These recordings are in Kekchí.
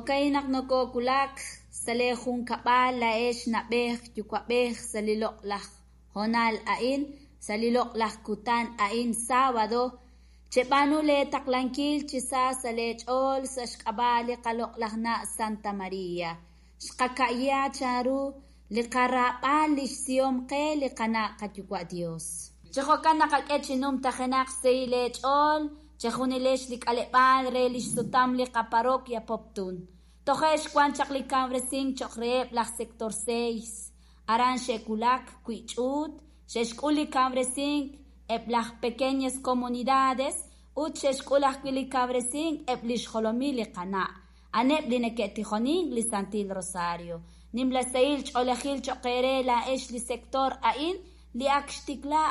Jo'ka'in naq nokowulak sa' lee junkab'al laa'ex na'b'ej yuwa'b'ej sa' li loq'laj hoonal a'in, sa' li loq'laj kutan a'in sábado, cheb'aanu lee taqlankil chi sa sa' lee ch'ool sa' xk'ab'a' li qaloq'laj na' Santa Maria. Xqaka'ya chanru li qaraab'al li xsihom qe li qana' qayuwa' Dios. Chi jo'kan naqak'e chi numtajenaq sahil eech'ool chejunilex li k'aleb'aal re lix sutam li qaparroquia Poptún. Toje' xwan chaq li kawresink cho'q reheb' laj sector 6. Aran xe'wulak wi' ch'uut, xe'xk'ul li kawresink eb' laj pequeñas comunidades ut xe'xk'ul ajwi' li kawresink eb' li xjolomil li qana'. A'aneb' li neke'tijonink li Santil Rosario. Nimla sahil ch'oolejil cho'q eere laa'ex li sector a'in li ak xtikla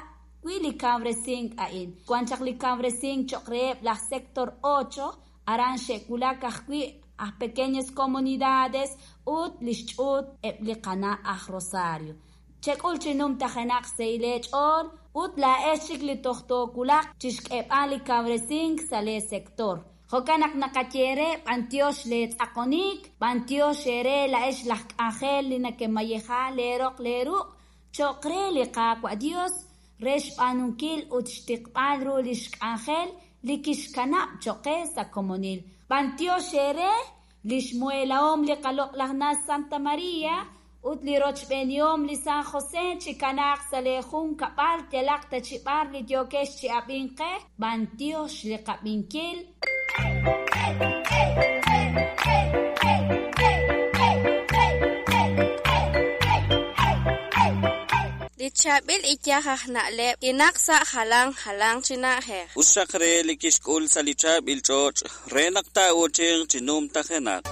wi' li kawresink a'in. Wan chaq li kawresink cho'q reheb' laj sector 8, aran xe'wulak ajwi' aj pequeñas comunidades ut li xch'uut eb' li qana' aj Rosario. Chek'ul chi numtajenaq sahil eech'ool ut laa'ex chik li toj toowulaq chi xk'eeb'al li kawresink sa' lee sector. Jo'kan naq naqaye eere b'antiox lee tz'aqonik, b'antiox eere laa'ex laj k'anjel li nakemayeja leeroq leeruq' cho'q re li Qaawa' Dios re xb'aanunkil ut xtiqb'al ru li xk'anjel li kixkanab' cho'q qe sa' komonil. B'antiox eere li xmuhelahom li qaloq'laj na' Santa Maria ut li rochb'eenihom li San José chikanaaq sa' lee junkab'al yalaq ta chi b'ar li yookex chi ab'ink qe, b'antiox li qab'inkil. Li chaab'il iyaj aj na'leb' kinaq sa' jalan jalanq chi na'ajej. Us xaq re li kixk'ul sa' li chaab'il ch'och' re naq taa'uuchinq chi numtajenaq.